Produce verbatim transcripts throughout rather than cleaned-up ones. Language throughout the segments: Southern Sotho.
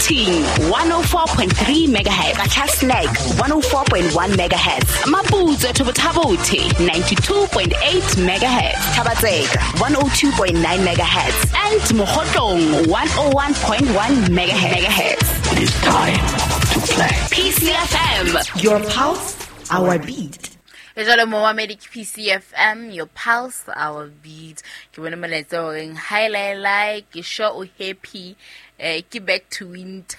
Quthing one oh four point three megahertz, Qacha's Nek one oh four point one megahertz, Maputswe Thobothabothe ninety-two point eight megahertz, Thaba-Tseka one oh two point nine megahertz, and Mokhotlong one oh one point one megahertz. It is time to play. P C F M, your pulse, our beat. Jalo mo wa Medic P C F M, your pulse, our beat. Ke bone molaetsa o reng hi lai lai, ke sure o happy. Eh, ke back to winter.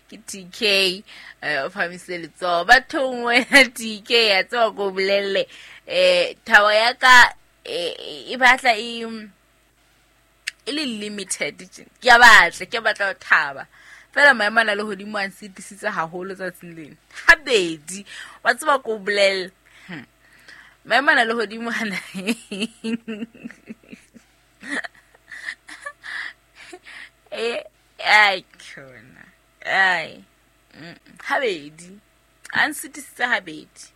Ke T K, eh, o phamise letsoho. Bathong wena T K, ya tseba ko bolelle. Eh, thabo ya ka, eh, e batla e, e le limited. Ke a batla, ke batla ho thaba. Fela maemo a na le hodimo a nsitisitse haholo tsatsing lena. Habedi, wa tseba ko bolelle. Hmm. Maemo a na le hodimo hana. Eh, ai khona. Ai. Habedi. A nsitisitse habedi.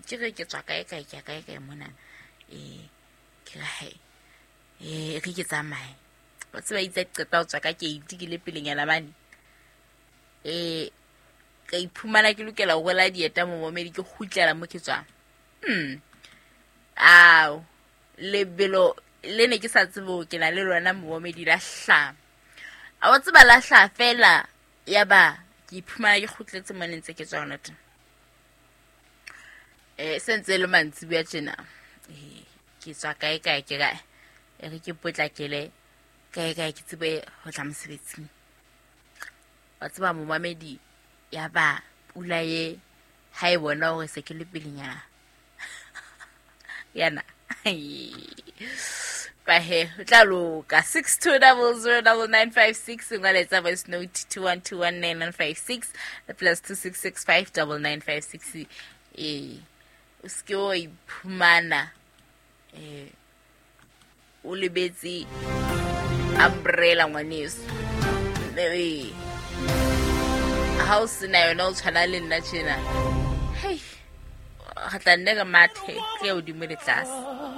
Ke re ke tswa kae kae ke kae kae mona. Eh, ke re hai. Eh, re ke tsamaye. Wa tseba itse qeta ho tswa ka keiti ke le pelenyana mane. Eh, ka iphumana ke lokela ho rwala dieta mo momedi ke kgutlela mo ke tswang. Hmm. Ao, lebelo le ne ke sa tsebe hore ke na le lona momedi la hlaha. A wa tseba la hlaha fela ya ba ke iphumana ke kgutletse mo ne ntse ke tswa hona teng. Eh, se ntse le mantsibuya tjena. Eh, ke tswa kae kae ke kae. E re ke potlakele kae kae ke tsebe ho tla mosebetsing. Wa tseba momamedi ya ba pula ye ha e bona hore se ke le pelenyana. Yana. Ba he, o tla loka. six two double zero double nine five six, ngwaletsa voice note two one two one nine nine five six, plus two six six five double nine five six. Eh, o se ke wa iphumana, eh, o lebetse umbrella ngwaneso. Eh, ha o sena yona o tshwana le nna tjena. Hei, re tla nne re mathe, ke ya hodimo le tlase.